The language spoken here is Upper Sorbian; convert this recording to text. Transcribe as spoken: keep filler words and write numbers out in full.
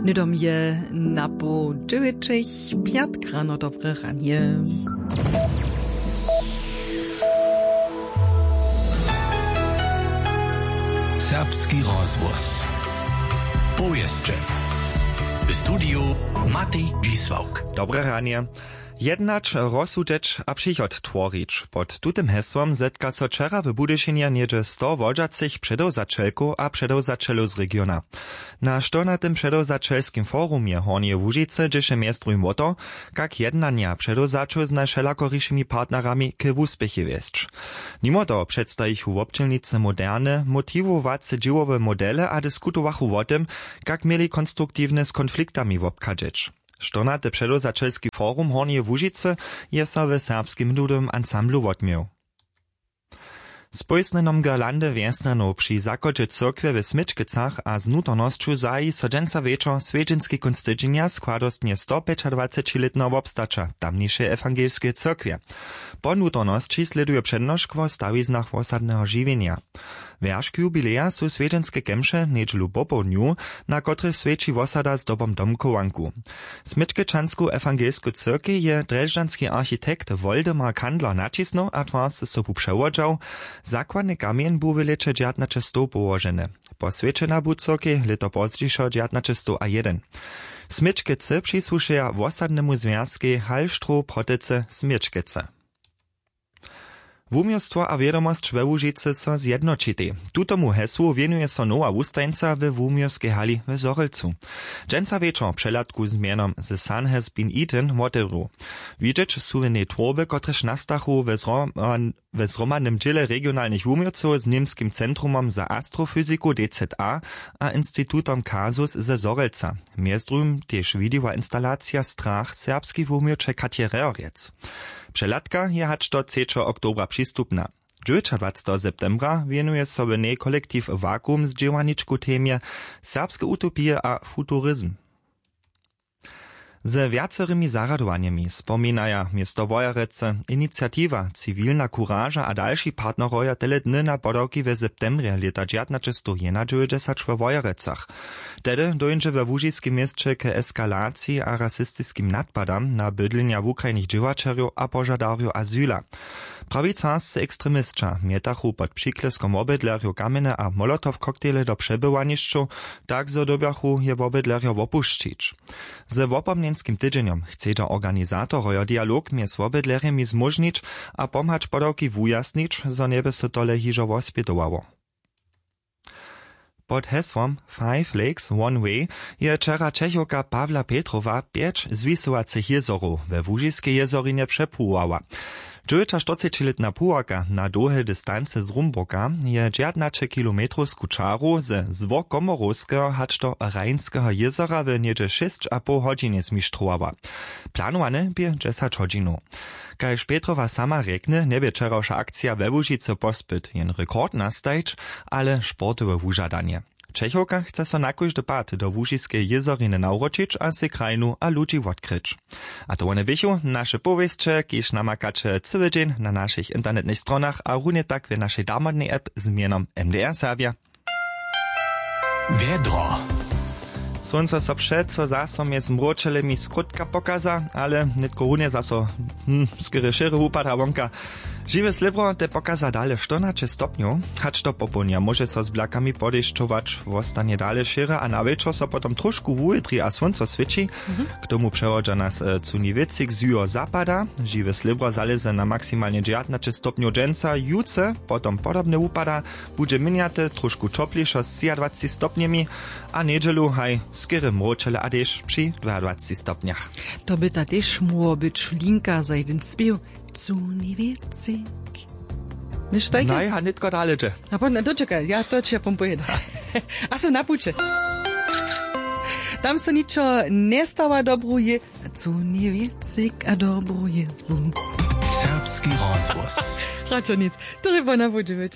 Hnydom je na poł dźewjećich. Pjatk rano, dobre ranje. Serbski rozhłos. Powěsće. W studiju Matej Dźisławk. Dobre ranje. Jednać, rozsudźeć a přichod tworić, pod tutym hesłom zetka so wčera w Budyšinje něhdźe sto wodźacych předewzaćelkow a předewzaćelow z regiona. Na štyrnatym předewzaćelskim forumje Hornjeje Łužicy dźěše mjez druhim wo to, kak jednanja předewzaćow z najwšelakorišimi partnerami k wuspěchej wjesć. Nimo toho předstajichu wobdźělnicy moderne motiwowace dźěłowe modele a diskutowachu wo tym, kak měli konstruktiwne z konfliktami wobchadźeć. Štyrnaty předewzaćelski forum Hornjeje Łužicy je so w Serbskim ludowym ansamblu wotměł. Z pójsnjenom girlandy wjesnjanow při zachodźe cyrkwje w Smyčkecach a z nutornosću zaji so dźensa wječor swjedźenski kónc tydźenja składostnje stopjećadwacećilětneho wobstaća tamnišeje ewangelskeje cyrkwje. Po nutornosći slěduje přednošk wo stawiznach wosadneho žiwjenja. Wjeršk jubileja su swjedźenske kemše njedźelu popołdnju, na kotrychž swjeći wosada zdobom domchowanku. Smyčkečansku ewangelsku cyrkej je drježdźanski architekt Woldemar Kandler naćisnył a twarz sobu přewodźał. Zakładny kamjeń bu w lěće dźewjatnaće stow połoženy. Poswjećena bu cyrkej lěto pozdźišo dźewjatnaće stow a jedyn. Smyčkece přisłušeja wosadnemu zwjazkej Hallstroh Protycy Smyčkece. Wuměłstwo a wědomosć we Łužicy so zjednoćitej. Tutomu hesłu wěnuje so nowa wustajeńca we wuměłskej hali w Zhorjelcu. Dźensa wječor přehladku z mjenom The Sun Has Been Eaten wotewru. Widźeć su w njej twórby, kotrež nastachu we zro-, we zhromadnym dźěle regionalnych wuměłcow z Němskim centrumom za astrofyziku D Z A a institutom Kasus ze Zhorjelca. Mjez druhim tež widiła instalacija Strach serbskich wuměłće Katje Rehrjec. Přehladka je hač do třećeho oktobra přistupna. Dźewjećadwaceteho septembra wěnuje so w njej kolektiw Vakuum zdźěłaničku temje serbske utopije a futurizm. Ze wjacerymi zarjadowanjemi spominaja město Wojerecy, iniciatiwa Ciwilna kuraža a dalši partnerojo tele dny na podawki w septembrje lěta dźewjatnaće stow jedynadźewjećdźesat we Wojerecach. Tehdy dóńdźe we łužiskim měsće k eskalaciji a rasistiskim nadpadam na bydlenja wukrajnych dźěłaćerjow a požadarjow azyla. Prawicarscy ekstremisća mjetachu pod přiklěskom wobydlerjow kamjene a molotow-koktejle do přebywanišćow, tak zo dyrbjachu je wobydlerjo wopušćić. Ze wopomnjenskim tydźenjom chcedźa organizatorojo dialog mjez wobydlerjemi zmóžnić a pomhać podawki wujasnić, zo njeby so tole hižo wospjedowało. Pod hesłom Five Lakes One Way je wčera Čechowka Pawla Petrowa pjeć zwisowacych jězorow we Łužiskej jězorinje přepływała. Dźewjećaštyrcećilětna pływaka na dołhej distancy z Rumburka je dźewjatnaćekilometrowsku čaru ze Złokomorowskeho hač do Rheinskeho jězora w něhdźe šěsć a poł hodźinje zmištrowała. Planowane bě dźesać hodźinow. Kaž Petrowa sama rjekny, njebě wčerawša akcija we Łužicy pospyt jen rekord nastajić, ale sportowe wužadanje. Čechowka chce so na kóždy pad do Łužiskeje jězoriny nawróćić a sej krajinu a ludźi wotkryć. A to wone běchu naše powěsće, kiž namakaće cyły dźeń na našich internetnych stronach a runje tak w našej damodnej app z mjenom M D R Serbja. Wjedro. Słónco so přeco zaso mjez mróčelemi skrótka pokaza, ale nětko runje zaso, hm, skerje šěry wupada wonka. Žiwe slěbro te pokaza dale štyrnaće stopnjow. Hač do popołdnja móže so z blakami podešćować, wostanje dale šěry a na wječor so potom trošku wuwětri a słónco swěći. K tomu přewodźa nas, e, cunji wětřik z juho zapada. Žiwe slěbro zalěze na maksimalnje dźewjatnaće stopnjow dźensa, jutře potom podobne wupada. Budźe měnjate, trošku ćoplišo z třiadwaceći stopnjemi a njedźelu haj skerje mróčele a dešć při dwajadwaceći stopnjach. To by ta tež móhło być linka za jeden spěw. Cunji wětřik. Něšto tajke? Naj, a nětko dale dźe. A potom, dočekaj, ja to ći ja pom pojeda. A so na puće. Tam so ničo njestawa, dobru je. Cunji wětřik a dobru jězbu. Serbski rozhłos. Radšo nic. To je po na budźe.